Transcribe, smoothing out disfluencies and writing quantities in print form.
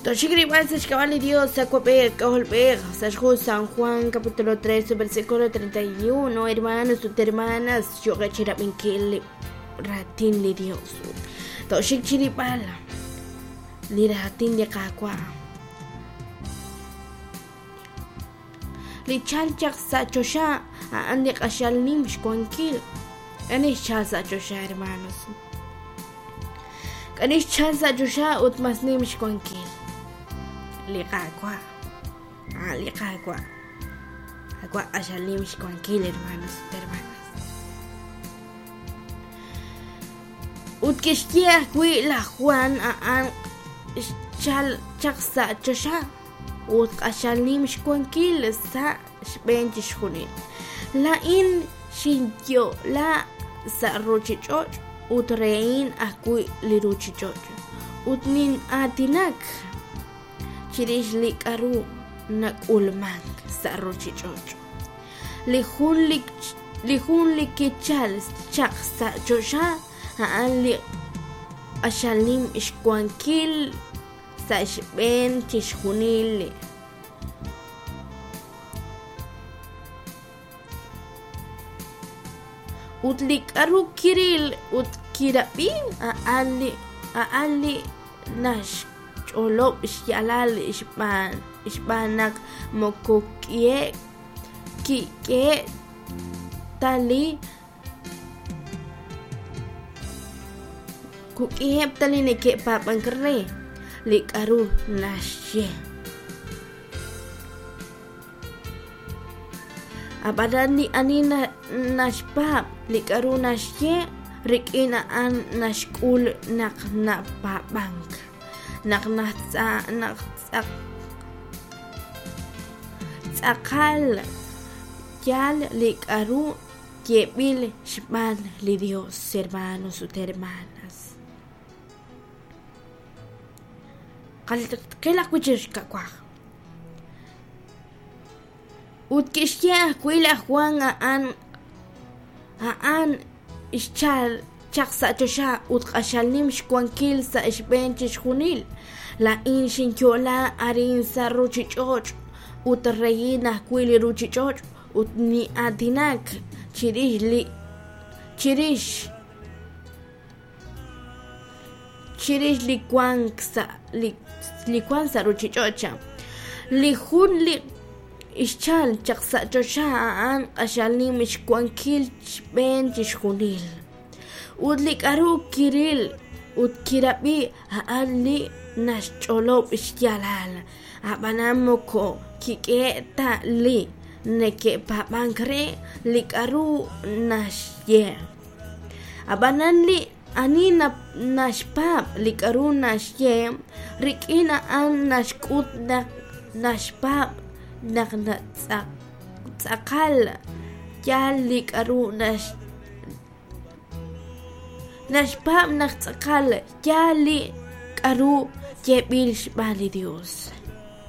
Toxik rilb'al sa' xk'ab'a' li Dios Awab'ej K'ajolb'ej sa' xhu San Juan capítulo 3 versículo 31 hermanos ut hermanas yo'qeb' chi rab'inkil li raatin li Dios toxik chi rilb'al li raatin li Qaawa' li chalk chaq sa' choxa a'an li q'axal nim xwankil ani xchal sa' choxa hermanos K'ani xchal sa' choxa ut mas nim xwankil li Qaawa' a'an li Qaawa' Qaawa' q'axal nim xwankil hermanos ut hermanas ut kixye ajwi' laj Juan a'an xchal chaq sa' choxa ut q'axal nim xwankil sa' xb'een chixjunil. Laa'in xinyo'la sa' ruuchich'och' ut rehin ajwi' li ruuchich'och', ut nin'aatinak chirix li k'aru nak'ulmank sa' ruuchich'och'. Li jun li kichalk chaq sa' choxa a'an li q'axal nim xwankil sa' xb'een chixjunil. Ut li k'aru kiril ut kirab'i a'an li a'an li naxch'olob' xyaalal xb'aan xb'aan naq moko k'iheb' kik'ehe' ta li Kuk'iheb' ta li neke'paab'ank re li k'aru naxye. Ab'anan li ani naxpaab' li k'aru naxye, rik'in a'an naxk'ul naq napaab'ank, naq tz'aqal yaal li k'aru yeeb'il xb'aan li Dios, hermanos ut hermanas. Qilaq wi' chik xkawaj. Ut kixye ajwi' laj Juan a'an a'an xchal chaq sa' choxa ut q'axal nim xwankil sa' xb'een chixjunil. Laa'in xinyo'la arin sa' ruuchich'och' ut rehin ajwi' li ruuchich'och' ut nin'aatinak chirix li chirix chirix li wank sa' li li wank sa' ruuchich'och'. Li jun li xchalk chaq sa' choxa a'an q'axal nim xwankil xb'een chixjunil. Ut li k'aru kiril ut kirab'i a'an li naxch'olob' xyaalal. Ab'anan moko kik'ehe' ta li neke'paab'ank re li k'aru naxye. Ab'anan li ani naxpaab' li k'aru naxye, rik'in a'an naxk'ut naq naxpaab' naq tz'aqal yaal li k'aru naxpaab' naq tz'aqal yaal li k'aru yeeb'il xb'aan li Yos.